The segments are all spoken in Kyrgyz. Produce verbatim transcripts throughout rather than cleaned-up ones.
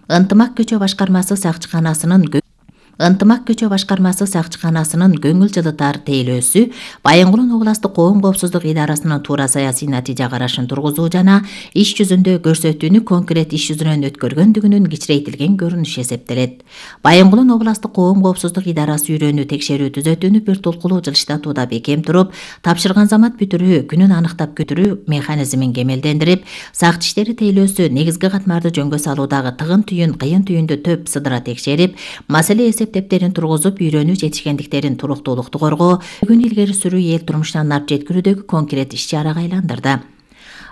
Ынтымак көчө башкармасы сакчыканасынын Ынтымак көчө башкармасы сакчыканасынын көңүл жылытар тейлөөсү Байынгулун областык коом коопсуздук идарасынын туура саясий натыйжа карашын тургузуу жана иш жүзүндө көрсөтүүнү конкрет иш жүзүнөн өткөргөндүгүнүн кичирейтилген көрүнүшү эсептелет. Байынгулун областык коом коопсуздук идарасы үйрөнүү текшерүү түзөтүүнү бир тулкулуу жылыштатууда бекем туруп, тапшырган замат бүтүрүү күнүн аныктап көтүрүү механизмин кемелдендирип, сакчы иштери тейлөөсү негизги катмарды жөнгө салуудагы тыгын түйүн кыйын түйүндү төп сыдыра текшерип, маселе эсептептерин тургузуп, үйрөнүү жетишкендиктерин туруктуулукту коргоо, күн илгери сүрүү эл турмушунан алып жеткирүүдөгү конкрет иш-чарага айландырды.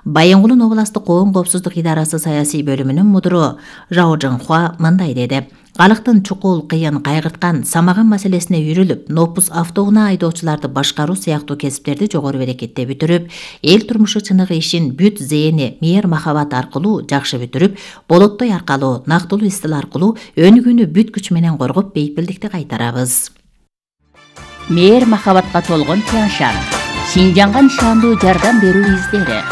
Байынгулун областык коом коопсуздук идарасы саясий бөлүмүнүн мудуру Жао Жыңхуа мындай деди: Калктын чукул, кыйын, кайгырткан, самаган маселесине үйрүлүп, нопус автоунаа айдоочуларды башкаруу сыяктуу кесиптерди жогору берекетте бүтүрүп, эл турмушу чыныгы ишин бүт зээни мээр махабат аркылуу жакшы бүтүрүп, болоттой аркалуу, нактылуу истил аркылуу өнүгүүнү бүт күч менен коргоп, бейпилдикти кайтарабыз. Мээр махабатка толгон Тяншан, Шинжанга нишандуу жардам берүү издери.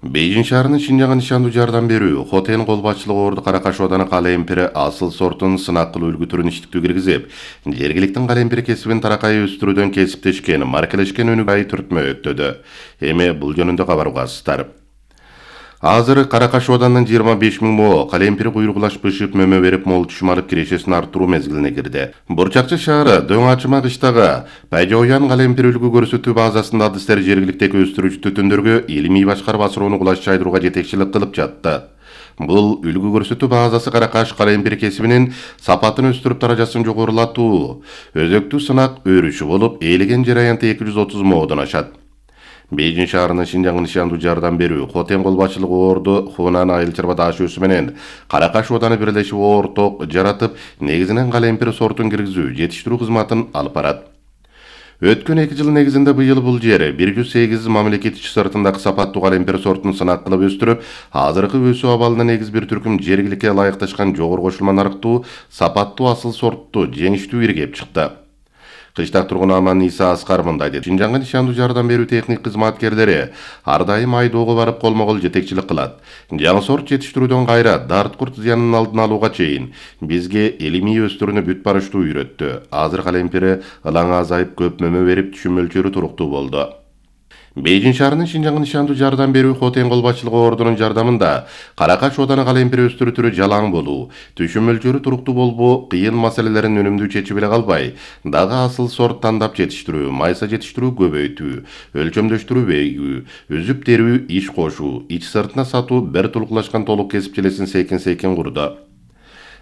Бейжин шаарынын Шинжанга нишандуу жардам берүү Хотен кол башчылыгы Орду Каракаш ооданы калемпири асыл сортун сынак кылуу үлгү түрүн иштиктүү киргизип, жергиликтин калемпир кесибин таракай өстүрүүдөн кесиптешкен, маркелешкен өнүгүү түртмө өттөдү. Эми бул жөнүндө кабар угасыздар. Азыр Каракаш оодарынын жыйырма беш миң мо калемпир куйругулаш бышып мөмө берип мол түшүм алып кирешесин арттыруу мезгилине кирди. Бурчакчы шаары Дөң Ачыма кыштагы Пайжоян калемпир үлгү көрсөтүү базасында адыстер жергиликтеги өстүрүүчү түтүндөргө илимий башкарма суроону кулаш чайдырууга жетекчилик кылып жатты. Бул үлгү көрсөтүү базасы Каракаш калемпир кесибинин сапатын өстүрүп даражасын жогорулатуу өзөктүү сынак өрүшү болуп, ээлеген жер аянты эки жүз отуз модон ашат. Бейжин шаарынын Шинжанга нишандуу жардам берүү Хотен кол башчылыгы Орду Хунан айыл чарба даашөөсү менен Каракаш ооданы бирлешип орток жаратып, негизинен калемпир сортун киргизүү, жетиштирүү кызматын алып барат. Өткөн эки жыл негизинде быйыл бул жер бир жүз сегиз мамлекет ички сыртындагы сапаттуу калемпир сортун сынак кылып өстүрүп, азыркы өсүү абалына негиз бир түркүм жергиликке ылайыкташкан жогору кошулма нарыктуу, сапаттуу асыл сортту жеңиштүү иргеп чыкты. Кыштак тургун Аман Иса Аскар мындай деди: Шинжанга нишандуу жардам берүү техник кызматкерлери ар дайым айдоого барып колмо-кол жетекчилик кылат. Жаңы сорт жетиштирүүдөн кайра дарт-курт зыянын алдын алууга чейин бизге илимий өстүрүүнү бүт барыштуу үйрөттү. Азыр калемпири ылаңы азайып, көп мөмө берип, түшүм мөлчөрү туруктуу болду. Бейжин шаарынын Шинжанга нишандуу жардам берүү Хотен кол башчылыгы Ордунун жардамында Каракаш ооданы калемпир өстүрүү түрү жалаң болуу, түшүм мөлчөрү туруктуу болбоо, кыйын маселелерин өнүмдүү чечип эле калбай, дагы асыл сорт тандап жетиштирүү, майса жетиштирүү көбөйтүү, өлчөмдөштүрүү бейгүү, үзүп терүү иш кошуу, ич сыртына сатуу бир тулкулашкан толук кесип желесин сейкин-сейкин курду.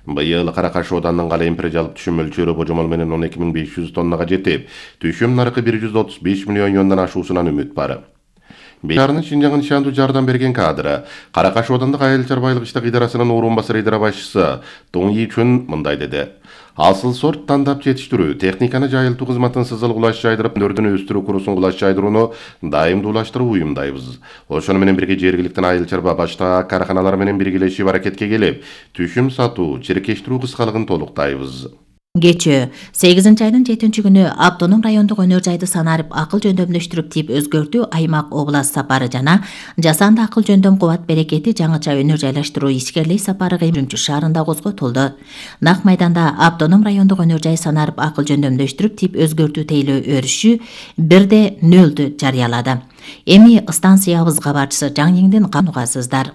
Быйыл Каракаш оодарынын калемпир жалпы түшүм мөлчөрү божомол менен он эки миң беш жүз тоннага жетип, түшүм наркы бир жүз отуз беш миллион юандан ашуусунан үмүт бар. Шаарынын Шинжанга нишандуу жардам берген кадры Каракаш оодандык айыл чарбалык иштик идарасынын орун басары идара башчысы Туң Ичүн мындай деди: Асыл сорт тандап жетиштирүү, техниканы жайылтуу кызматын сызыл кулаш жайдырып, нөрдүн өстүрүү курусун кулаш жайдырууну дайымдуулаштырып уюмдайбыз. Ошону менен бирге жергиликтин айыл чарба башка карканалар менен биргелешип аракетке келип, түшүм сатуу, чиркештирүү кыскалыгын толуктайбыз. Кечээ сегизинчи айдын жетинчи күнү автоном райондук өнөр жайды санарип акыл жөндөмдөштүрүп тип өзгөртүү аймак област сапары жана жасанды акыл жөндөм кубат берекети жаңыча өнөр жайлаштыруу ишкерлик сапары Үрүмчү шаарында козготулду. Нак майданда автоном райондук өнөр жай санарип акыл жөндөмдөштүрүп тип өзгөртүү тейлөө өрүшү бирде нөлдү жарыялады. Эми станциябыз кабарчысы Жаң Еңден канугасыздар.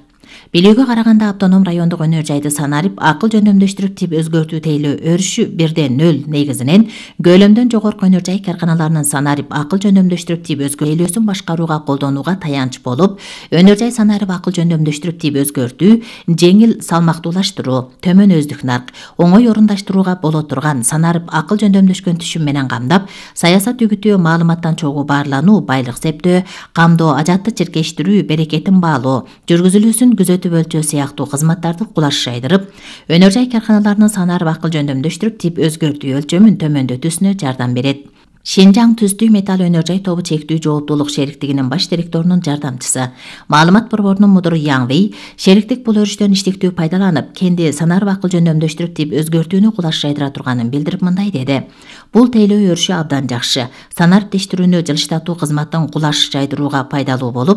Билүүгө караганда автоном райондук өнөр жайды санарип акыл жөндөмдөштүрүп тип өзгөртүү тейлөө өрүшү бирде нөл негизинен көлөмдөн жогорку өнөр жай карканаларынын санарип акыл жөндөмдөштүрүп тип өзгөртүүсүн башкарууга колдонууга таянч болуп, өнөр жай санарип акыл жөндөмдөштүрүп тип өзгөртүү жеңил салмактуулаштыруу, төмөн өздүк нарк, оңой орундаштырууга боло турган санарип акыл жөндөмдөшкөн түшүм менен камдап, саясат үгүтүү, маалыматтан чогуу баарлануу, байлык септөө, камдоо, ажатты чиркештирүү, берекетин баалоо, жүргүзүлүүсүн күзөтүп өлчөө сыяктуу кызматтарды кулаш жайдырып, өнөр жай карканаларынын санарип акыл жөндөмдөштүрүп тип өзгөртүү өлчөмүн төмөндөтүүсүнө жардам берет. Шинжаң Түздүү металл өнөр жай тобу чектүү жооптуулук шериктигинин баш директорунун жардамчысы, маалымат борборунун мудуру Яң Вей, шериктик бул өрүштөн иштиктүү пайдаланып, кенди санарип акыл жөндөмдөштүрүп тип өзгөртүүнү кулаш жайдыра турганын билдирип мындай деди: Бул тейлөө өрүшү абдан жакшы, санарип тештирүүнү жылыштатуу кызматын кулаш жайдырууга пайдалуу болуп,